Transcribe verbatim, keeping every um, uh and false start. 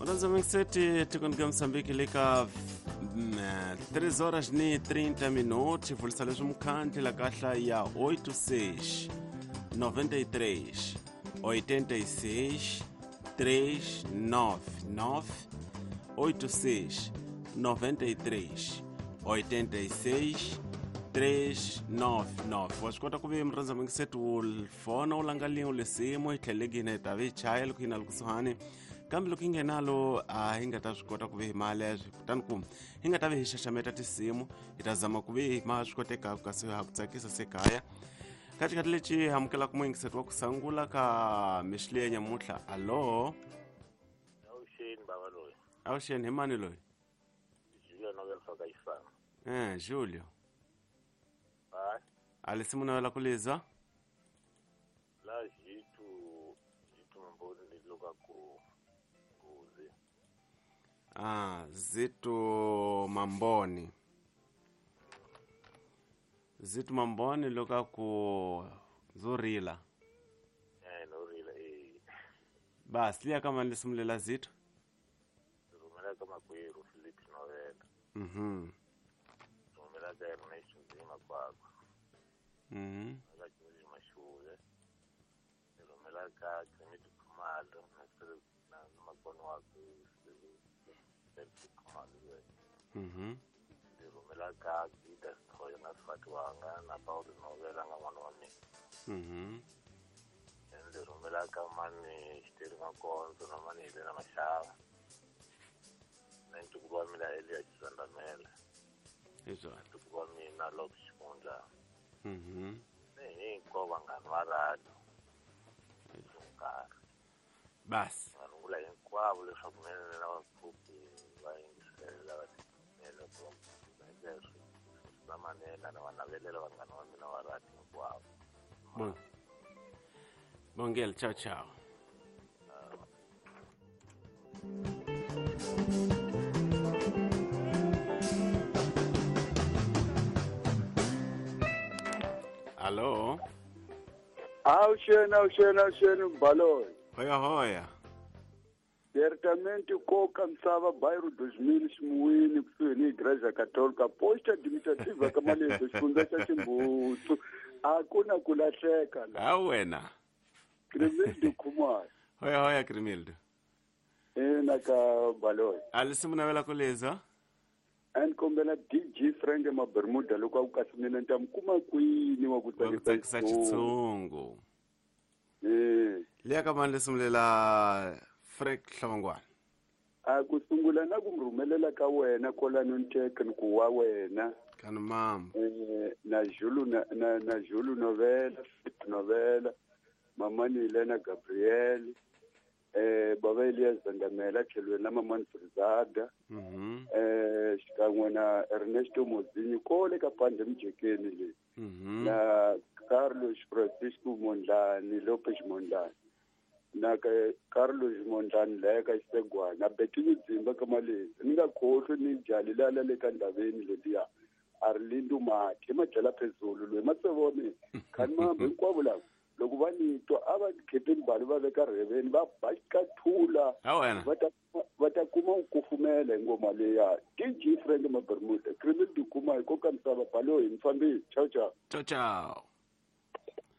Murandza mingiseti tikweni ka Mozambique le ka três horas e trinta minutos vulisa leswi mukhandli la kahla ya oito seis noventa e três oitenta e seis três nove nove oito seis noventa e três oitenta e seis três nove nove. Wa swi kota ku ve murhandza mingiseti wu fona wu langa lin'we lisimu hi tlhelekini hi ta ve hi chaya loko yi na le kusuhani kambe loko yi nghenalo a hi nga ta swi kota ku ve hi maleswi kutani ku hi nga ta ve hi xaxameta tinsimu hi ta zama ku ve hi ma swi kotekaka kasi ha ku tsakisa se kaya ka xikhathi lexi hi amukelaka muyingiseti wa ku sungula ka mixile ya nyamuntlha. Alo? Avuxeni bava loyi. Avuxeni, hi mani loyi? Julio Nobel faka xifana. Eh, Julio. Hayi. A lisimu navela ku lizwa? La Jitu Jitu Mamboni liloka ku Nguzi. Ah, Zitu Mamboni. Zitu Mamboni loka ku Zorila. Eh, no rila eh. Basi liya kama lisimu lela Zitu. Rhumela ka makwerhu Philip Novela. Mhm. Rhumela ka Ernest Nzima kwakwa. Mhm. Ka George Mashule. Rhumela ka Clement Khumalo na na makona wakwe Philip Khumalo. Mhm. Rhumela ka Gida Sithoyo na nsati wanga na Paulo Novela nga n'wana wa mina. Mhm. Ndzi rhumela ka mani Xiteri Makondzo na mani Helena Mashava. Na ntukulu wa mina Elias Xandamela. Hi swona. Ntukulu wa mina Lop Xikundla. Mhm. Ni hinkwavo vanghana va radio. Nkarhi. Basi. Nga rungula hinkwavo leswaku mina na vapfhuki va yingisela va timela ku va manela na va navelela vanghana va mina va radio hinkwavo. Bon. Bongel, ciao ciao. Alo? Avuxeni, avuxeni, avuxeni Mbaloyi. Hoya hoya. Certamente koka misava bairro dois mil ximuwini kusuhi ni Igreja Católica posta administrativa ka Malezo xifundza xa Ximbutsu a ku na ku lahleka la. Ha wena. Crimildo Khumalo. Hoya hoya Crimildo. Ina ka Baloyi. A lisimu navela ku lizwa? A ni kombela D J Frank Mabermuda loko a ku kasi mina ni ta mi kuma kwini wa ku Wa ku tsakisa tsakisa xitshungu. Eh. Liya ka mani lisimu lela Frank Hlongwane? A ku sungula na ku mi rhumelela ka wena kwalano ni ni ku wa wena. Kani mama. Eh, na Julu na na, na Julu Novela, Novela, Mamani Helena Gabriel, eh baba Elias Zandamela tlhelweni na Mamani Frizada. Mhm. Eh xikan'we na Ernesto Mozinho kole ka Pande Mjekeni le. Mhm. Na Carlos Francisco Mondlane, Lopez Mondlane. Na ka Carlos Mondlane la ka Xisegwana, na Betty Dzimba ka Malezi. Ni nga khohlwi ni jali la la le ka ndhaveni leliya. Arlindo Mati, madyela phezulu loyi matsevone khani mambe hinkwavo lava loko va ni twa a va khepeni bali va veka rheveni va ba xikathula Ha wena. va ta va ta kuma ku kufumela hi ngoma leya. D J Frank Mabermuda, Crimildo Khumalo, koka misava Baloyi, mi fambile. Ciao ciao. Ciao ciao.